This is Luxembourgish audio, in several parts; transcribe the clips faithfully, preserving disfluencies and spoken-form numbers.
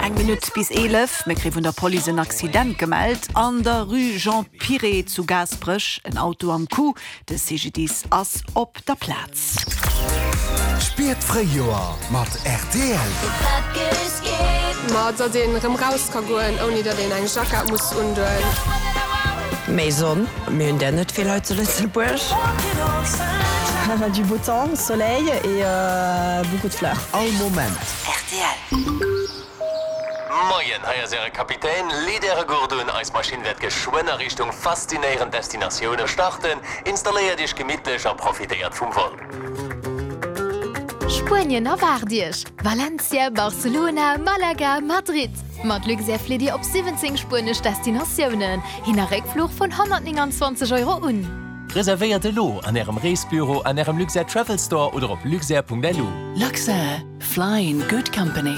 Eng Minutt bis eelef. Mir kréie vun der Police en Accident gemellt an der Rue Jean Piré zu Gaasperech. En Auto am Coup. De C G D I S ass op der Plaz. Spiert d'Fréijoer mat R T L. Ma datt een erëm raus ka goen, ouni datt een eng Jackett muss undoen. Méi Sonn, mir hunn der net vill hei zu Lëtzebuerg. Du beau temps, soleil et euh, beaucoup de fleurs. All Moment. R T L. Moien, hei ass äre Kapitän. Leet äre Gurt un, eis Maschinn wäert geschwënn a Richtung faszinéierend Destinatioune starten. Installéiert iech gemittlech a profitéiert vum Vol. Spuenien erwaart iech. Valencia, Barcelona, Malaga, Madrid. Mat Luxair flitt dir op siwwenzéng spuenesch Destinatiounen. Hin a Réckfluch vun honnertnénganzwanzeg Euro un. Reservéiert elo an ärem Reesbüro, an ärem Luxair Travel Store oder op luxair Punkt L U. Luxair. Fly in good company.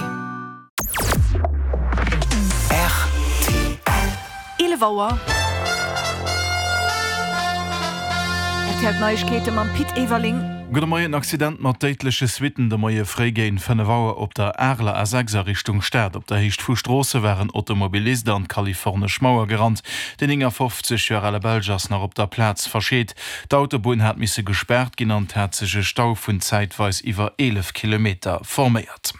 R T L. eelef Auer. R T L Neiegkeete mam Pit Everling. Gudde Moien. Accident mat déidleche Suitten de Moie fréi géint fënnef Auer op der Areler A sechs a Richtung Stad. Op der Héicht vu Stroosse war en Automobilist an d'kalifornesch Mauer gerannt. Den néngafofzeg Joer ale Belsch ass nach op der Plaz verscheet. D'Autobunn hat misse gespaart ginn an et hat sech e Stau vun zäitweis iwwer eelef Kilometer forméiert.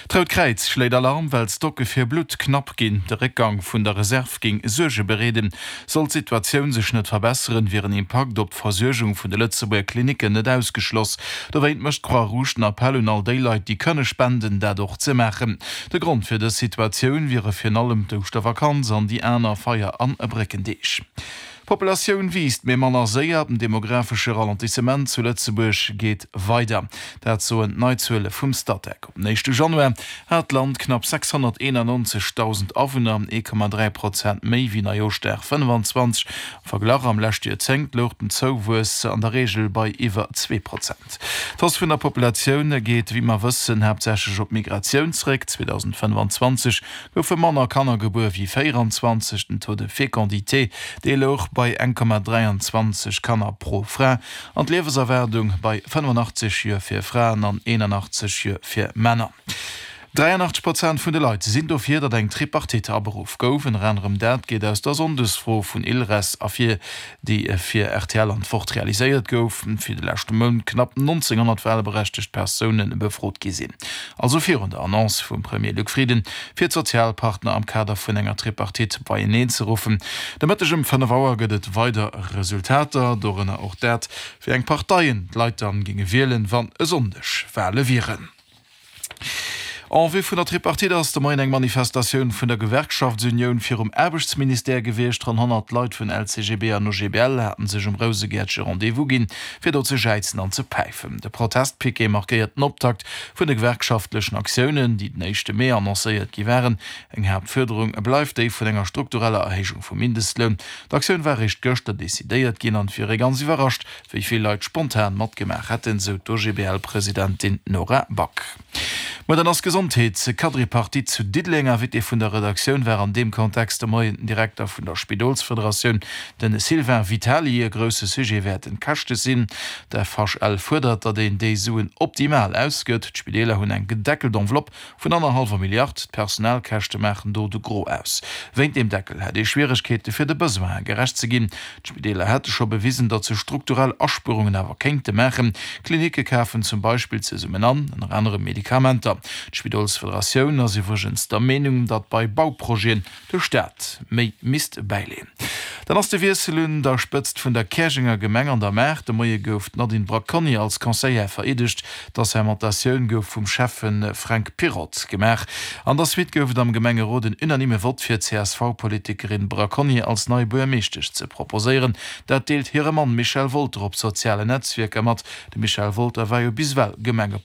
D'Rout Kräiz schléit Alarm, well d'Stocke fir Blutt knapp ginn. De Réckgang vun der Reserv géing Suerge bereeden. Sollt d'Situatioun sech net verbesseren, wier en Impakt op d'Versuergung vun de Lëtzebuerger Klinicken net ausgeschloss. Dowéint mécht d'Croix-Rouge den Appell un all déi Leit, déi kënne spenden, dat och ze maachen. De Grond fir dës Situatioun wiere virun allem d'Ouschtervakanz an déi aner Feier an Bréckendeeg. D'Populatioun wiisst, mee manner séier. Den demografesche Ralentissement zu Lëtzebuerg geet weider. Dat soen d'Neizuele vum Statec. Op den éischte Januar hat d'Land knapp sechshonnerteenannonzegdausend Awunner, ee Komma dräi Prozent méi wéi Neijooschdag fënnefenzwanzeg. Am Verglach, am leschte Joerzéngt louch den Zouwuess an der Reegel bei iwwer zwee Prozent. D'Hausse vun der Populatioun geet, wéi mer wëssen, haaptsächlech op d'Migratioun zeréck. zweedausendfënnefenzwanzeg goufe manner Kanner gebuer wéi véieranzwanzeg. Den Taux de fécondité, dee louch bei eng Komma dräianzwanzeg Kanner pro Fra an d'Liewenserwaardung bei fënnefenachtzeg Joer fir Fraen an eenanachtzeg Joer fir Männer. dräianachtzeg Prozent vun de Leit sinn dofir, datt eng Tripartite aberuff gouf. Ënner anerem dat geet aus der Sonndesfro vun ILReS ervir, déi fir R T L an d'Wort realiséiert gouf, fir de leschte Mount knapp nonzénghonnert walberechtegt Persoune befrot gi sinn. Also virun der Annonce vum Premier Luc Frieden, fir d'Sozialpartner am Kader vun enger Tripartite beieneen ze ruffen. De Mëtteg ëm fënnef Auer gëtt et weider Resultater, dorënner och dat, wéi eng Parteien d'Leit dann géinge wielen, wann e Sonndeg Wale wieren. En vue vun der Tripartite ass de Moien eng Manifestatioun vun der Gewerkschaftsunioun virum Aarbechtsministère gewiescht. Ronn honnert Leit vun L C G B an O G B L haten sech um Rousegäertche Rendez-vous ginn, fir do ze jäizen an ze päifen. De Protestpiquet markéiert den Optakt vun de gewerkschaftlechen Aktiounen, déi den éischte Mee annoncéiert gi waren. Eng Haaptfuerderung bleift déi vun enger struktureller Erhéijung vum Mindestloun. D'Aktioun war eréischt gëschter decidéiert ginn an et wier ee ganz iwwerrascht, wéi vill Leit spontan matgemaach hätten, sou d'O G B L-Presidentin Nora Back. Muer dann ass Gesondheets-Quadripartite zu Diddeleng. Invité vun der Redaktioun war an deem Kontext de Moien den Direkter vun der Spidolsfederatioun, de Sylvain Vitali. E grousse Sujet wäerten d'Käschte sinn. D'F H L fuerdert, datt een déi Suen optimal ausgëtt. D'Spideeler hunn eng gedeckelt Enveloppe vun annerhallwer Milliard. D'Personalkäschte maachen do de Gros aus. Wéint deem Deckel hätt ee Schwieregkeete fir de Besoine gerecht ze ginn. D'Spideeler hätte scho bewisen, datt se strukturell Aspuerungen awer kéinte maachen. Klinicke kafen zum Beispill zesummen an, ënner anerem Medikamenter. D'Spidolsfederatioun ass iwwregens der Meenung, datt bei Bauprojeten de Staat méi misst bäileeën. Dann ass de Wiessel un der Spëtzt vun der Käerjenger Gemeng an der Maach. De Moie gouf d'Nadine Bracconi als Conseillère vereedegt. D'Assermentatioun gouf vum Schäffe Fränk Pirotte gemaach. An der Suite gouf et am Gemengerot en unanime Vott fir d'C S V-Politikerin Bracconi als nei Buergermeeschtesch ze proposéieren. Dat deelt hire Mann Michel Wolter op sozialen Netzwierker mat. De Michel Wolter war jo bis ewell Gemengepolitiker.